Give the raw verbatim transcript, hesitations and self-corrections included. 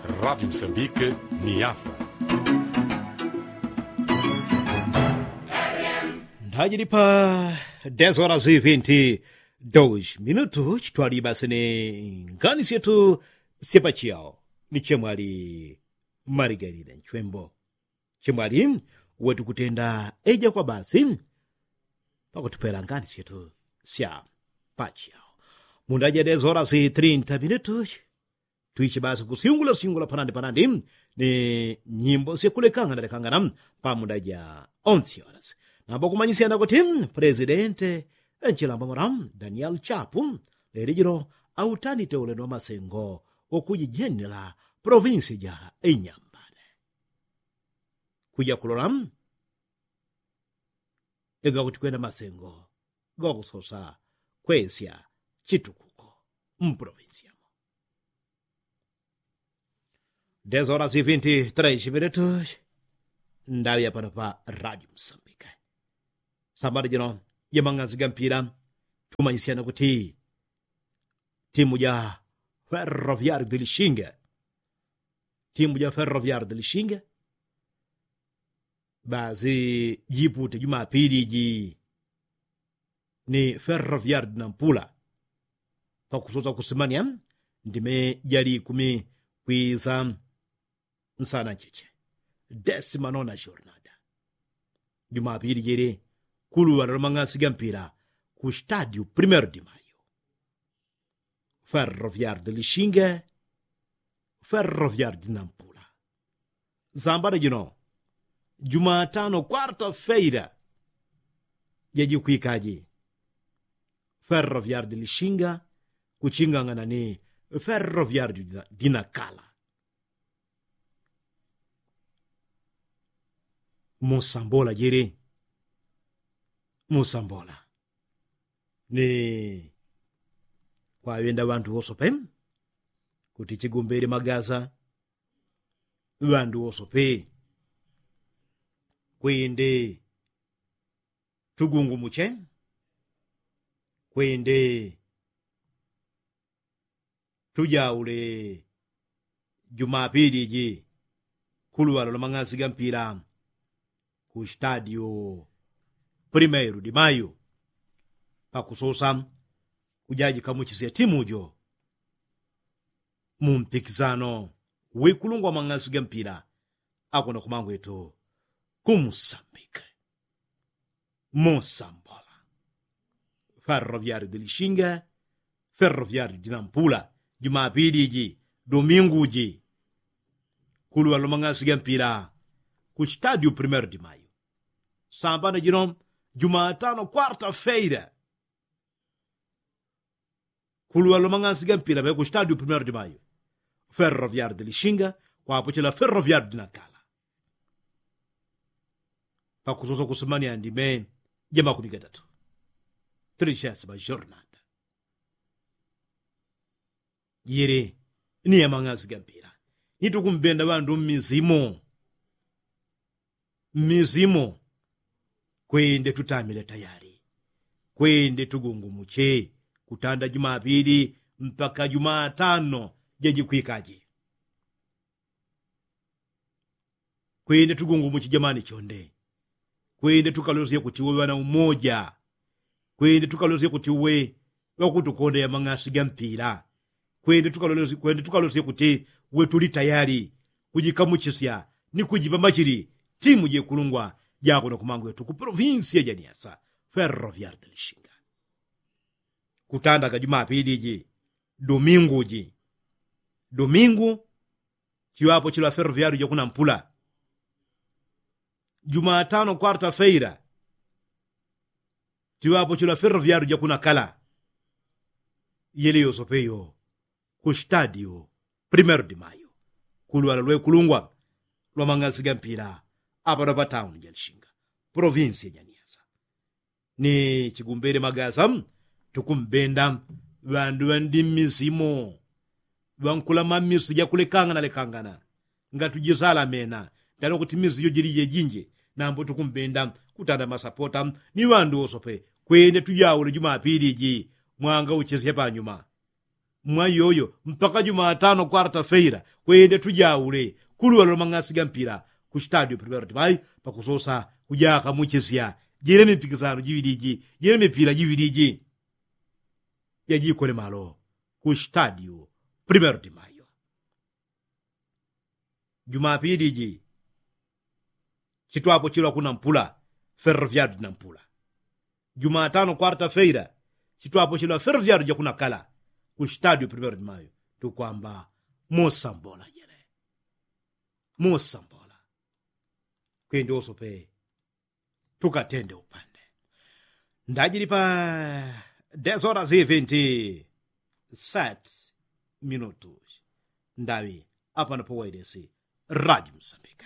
Radi msambike ni yasa. Ndajili pa dez horas e vinti dos minutu chitwali basi ni ngani syetu syepachiao ni chemwali. Marigarida nchwembo chemwali wetu kutenda eja kwa basi pakutupela ngani syetu sya pachiao. Mundaja dez horas e trinta minutu twichi basi kusyungula syungula panandi panandi ni nyimbo syakulekangana lekangana. Pamundaja onse horas namba kumanyisya nakuti presidente enchilambomora daniel chapu leli jino autanite ulendo wa masengo wakujijenela provinsi ja inyambane kuja kulola igakuti kwenda masengo gokusosa kwesya chitukuko mprovinsi yamo. Dez horas e vinti tres minutu ndawi yapano pa radio msambike. Sambano jino jemang'anzi gampila tumanyisyana kuti timu ja ferroviari de lishinge timu ja ferroviari de lishinge basi jipute jumapili ji ni ferroviari de nampula pakusosa kusimanya ndime jali ikumi kwisa nsana ncheche desima nona jornada jumapili jili kuluwala lwa mang'ansi gampila ku stadio primero de mayo. Ferroviari de lishinge ferroviari de nampula. Sambano jino jumatano kwarta feira jajikwikaji ferroviari de lishinga kuchingang'ana ni ferroviari dinakala. Musambola jili musambola ni kwaŵenda ŵandu wosope kuti chigumbili magaza ŵandu wosope kwende tugungumuche kwende tujaule jumapili ji kuluŵalo lwa mang'ansi ga mpila ku stadio primeiro de mayo pakusosa kujajikamuchisya timu jo mu mpikisano wikulungwa mang'ansi ga mpila akuna kumangwetu kumusambika. Musambola ferroviari de lishinga ferroviari de nampula jumapili ji domingu ji kuluŵalo lwa mang'ansi ga mpila ku stadio primeiro de mayo. Sambano jino jumatano kwarta feira kuluŵalo lwa mang'ansi ga mpila ŵe ku stadio primeiro de mayo ferroviari de lishinga kwapochela ferroviari de nakala pakusosa kusumania ndime ja makumi gatatu. Trishesi majornada yili ni ya mang'ansi ga mpila nitukumbenda ŵandu mmizimo mmizimo kwende tutamile tayali kwende tugungumuche kutanda jumapili mpaka jumatano jajikwikaji. Kwende tugungumuche jamani chonde kwende tukalosye kuti uwe ŵana umoja kwende tukalosye kuti uwe ŵakutukonda ya mang'ansi ga mpila kwende tukalosye kuti uwe tuli tayali kujikamuchisya ni kujipambachili timu jekulungwa jako na kumangwetu ku provinsia ja niasa. Ferroviari de lishinga kutandaga jumapili ji domingu ji domingu chiŵapo chilwa ferroviari ja kuna mpula jumatano kwarta feira chiŵapo chilwa ferroviari ja kuna kala yele yosope yo ku stadio primeiro de mayo kuluŵala lwekulungwa lwa mang'ansi ga mpila apano pa tauni ja lishinga provinsia ja niasa. Ni chigumbele magasa tukumbenda ŵandu ŵandi mmisimo ŵankulama mmiso jakulekangana lekangana ngatujisala mena ndano kuti mmiso jojili jejinje nambo tukumbenda kutanda masapota ni ŵandu wosope kwende tujaule jumapili ji mwanga uchesye panyuma. Mwa iyoyo mpaka jumatano kwarta feila kwende tujaule kuluwalo lwa mang'asi ga mpila ku stadio primero timayo pakusosa kujaka muchesya jele mipikisano jiwili iji jele mipila jiwili iji. Jajikole malo ku stadio primero timayo. Jumapili iji chitwapochilwa kuna mpula ferroviario na mpula. Jumatano kwarta feila chitwapochilwa ferroviario ja kuna kala ku stadio primero timayo. Tukwamba mosambola jele mosambola. Kwende oso pe tukatende upande. Ndajili pa desora ziventi sets minutus. Ndawi apano powailesi radi msambika.